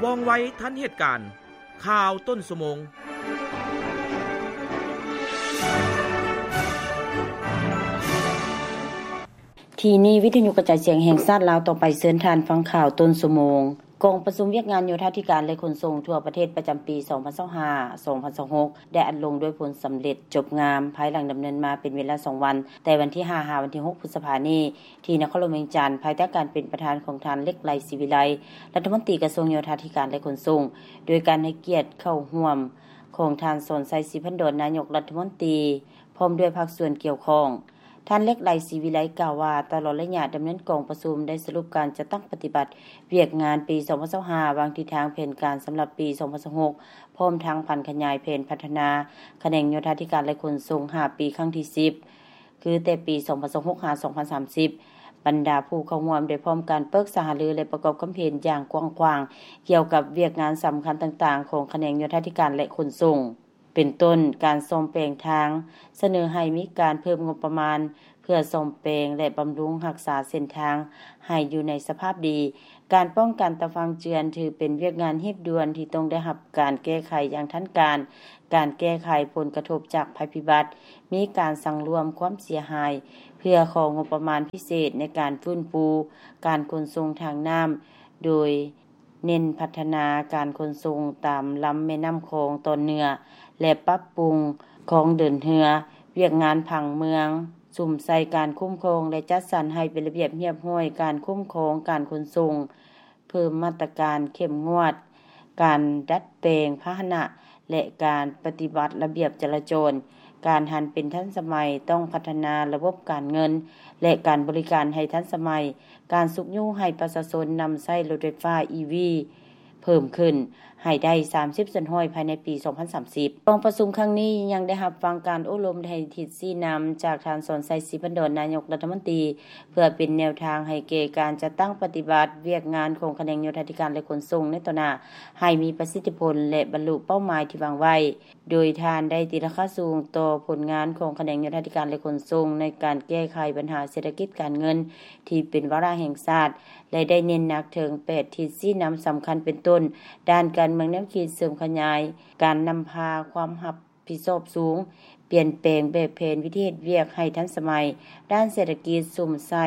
ວ່ອງໄວທັນເຫດການ. ຂ່າວຕົ້ນຊົ່ວໂມງ. ທີ່ນີ້ ວິທະຍຸກະຈາຍສຽງແຫ່ງຊາດລາວ ຕໍ່ໄປເຊີນທ່ານຟັງຂ່າວຕົ້ນຊົ່ວໂມງ. ກອງປະຊຸມວຽກງານໂຍທາທິການ ແລະ ຂົນສົ່ງທົ່ວປະເທດປະຈຳປີສອງພັນຊາວຫ້າ ສອງພັນຊາວຫົກ ໄດ້ອັດລົງດ້ວຍຜົນສຳເລັດຈົບງາມ ພາຍຫຼັງດຳເນີນມາເປັນເວລາສອງວັນ ແຕ່ວັນທີຫ້າ ຫາວັນທີຫົກ ພຶດສະພານີ້ ທີ່ນະຄອນຫຼວງວຽງຈັນ ພາຍໃຕ້ການເປັນປະທານຂອງທ່ານ ເລັກ ໄລ ສີວິໄລ ລັດຖະມົນຕີກະຊວງໂຍທາທິການ ແລະ ຂົນສົ່ງ, ໂດຍການໃຫ້ກຽດເຂົ້າຮ່ວມຂອງທ່ານ ສອນໄຊ ສີພັນດອນ ນາຍົກລັດຖະມົນຕີ ພ້ອມດ້ວຍພາກສ່ວນກ່ຽວຂ້ອງ. ທ່ານ ເລັກ ໄລ ສີວິໄລ ກ່າວວ່າ ຕະຫຼອດໄລຍະດຳເນີນກອງປະຊຸມ ໄດ້ສະຫຼຸບການຈັດຕັ້ງປະຕິບັດວຽກງານປີສອງພັນຊາວຫ້າ ວາງທິດທາງແຜນການສຳລັບປີສອງພັນຊາວຫົກ ພ້ອມທັງຜັນຂະຫຍາຍແຜນພັດທະນາຂະແໜງໂຍທາທິການ ແລະ ຂົນສົ່ງ ຫ້າປີ ຄັ້ງທີສິບ ຄືແຕ່ປີສອງພັນຊາວຫົກ ຫາ ສອງພັນສາມສິບ. ບັນດາຜູ້ເຂົ້າຮ່ວມໄດ້ພ້ອມກັນປຶກສາຫາລື ແລະ ປະກອບຄຳເຫັນຢ່າງກວ້າງຂວາງ ກ່ຽວກັບວຽກງານສຳຄັນຕ່າງໆຂອງຂະແໜງໂຍທາທິການ ແລະ ຂົນສົ່ງ ເປັນຕົ້ນ ການສ້ອມແປງທາງ, ສະເໜີໃຫ້ມີການເພີ່ມງົບປະມານເພື່ອສ້ອມແປງ ແລະ ບຳລຸງຮັກສາເສັ້ນທາງໃຫ້ຢູ່ໃນສະພາບດີ, ການປ້ອງກັນຕາຝັ່ງເຈື່ອນ ຖືເປັນວຽກງານຮີບດ່ວນທີ່ຕ້ອງໄດ້ຮັບການແກ້ໄຂຢ່າງທັນການ, ການແກ້ໄຂຜົນກະທົບຈາກໄພພິບັດ, ມີການສັງລວມຄວາມເສຍຫາຍ ເພື່ອຂໍງົບປະມານພິເສດໃນການຟື້ນຟູການຂົນສົ່ງທາງນ້ຳ ໂດຍເນັ້ນພັດທະນາການຂົນສົ່ງຕາມລຳແມ່ນ້ຳຂອງຕອນເໜືອ ແລະ ປັບປຸງຄອງເດີນເຮືອ, ວຽກງານຜັງເມືອງ, ສຸມໃສ່ການຄຸ້ມຄອງ ແລະ ຈັດສັນໃຫ້ເປັນລະບຽບຮຽບຮ້ອຍການຄຸ້ມຄອງການຂົນສົ່ງ, ເພີ່ມມາດຕະການເຂັ້ມງວດການດັດແປງພາຫະນະ ແລະ ການປະຕິບັດລະບຽບຈະລາຈອນ, ການຫັນເປັນທັນສະໄໝ, ຕ້ອງພັດທະນາລະບົບການເງິນ ແລະ ການບໍລິການໃຫ້ທັນສະໄໝ, ການຊຸກຍູ້ໃຫ້ປະຊາຊົນນຳໃຊ້ລົດໄຟຟ້າ ອີ ວີ ເພີ່ມຂຶ້ນໃຫ້ໄດ້ສາມສິບສ່ວນຮ້ອຍພາຍໃນປີສອງພັນສາມສິບ. ກອງປະຊຸມຄັ້ງນີ້ຍັງໄດ້ຮັບຟັງການໂອ້ລົມໃຫ້ທິດຊີ້ນຳຈາກທ່ານ ສອນໄຊ ສີພັນດອນ ນາຍົກລັດຖະມົນຕີ ເພື່ອເປັນແນວທາງໃຫ້ແກ່ການຈັດຕັ້ງປະຕິບັດວຽກງານຂອງຂະແໜງໂຍທາທິການ ແລະ ຂົນສົ່ງໃນຕໍ່ໜ້າ ໃຫ້ມີປະສິດທິຜົນ ແລະ ບັນລຸເປົ້າໝາຍທີ່ວາງໄວ້, ໂດຍທ່ານໄດ້ຕີລາຄາສູງຕໍ່ຜົນງານຂອງຂະແໜງໂຍທາທິການ ແລະ ຂົນສົ່ງ ໃນການແກ້ໄຂບັນຫາເສດຖະກິດການເງິນທີ່ເປັນວາລະແຫ່ງຊາດ ແລະ ໄດ້ເນັ້ນໜັກເຖິງແປດທິດຊີ້ນຳສຳຄັນ ເປັນຕົ້ນ ດ້ານການເມືອງແນວຄິດເສີມຂະຫຍາຍການນຳພາຄວາມຮັບ ຜິດຊອບສູງ, ປ່ຽນແປງແບບແຜນວິທີເຮັດວຽກໃຫ້ທັນສະໄໝ, ດ້ານເສດຖະກິດ ສຸມໃສ່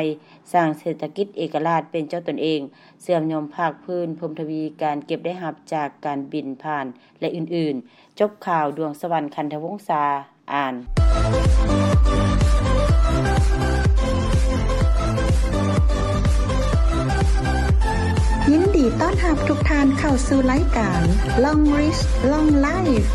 ສ້າງເສດຖະກິດເອກະລາດເປັນເຈົ້າຕົນເອງ, ເຊື່ອມໂຍງພາກພື້ນ, ເພີ່ມທະວີການເກັບໄດ້ຮັບຈາກການບິນຜ່ານ ແລະ ອື່ນໆ. ຈົບຂ່າວ, ດວງສະຫວັນ ຄັນທະວົງສາ ອ່ານ. ຍິນດີຕ້ອນຮັບທຸກທ່ານເຂົ້າສູ່ລາຍການ Long Reach Long Life.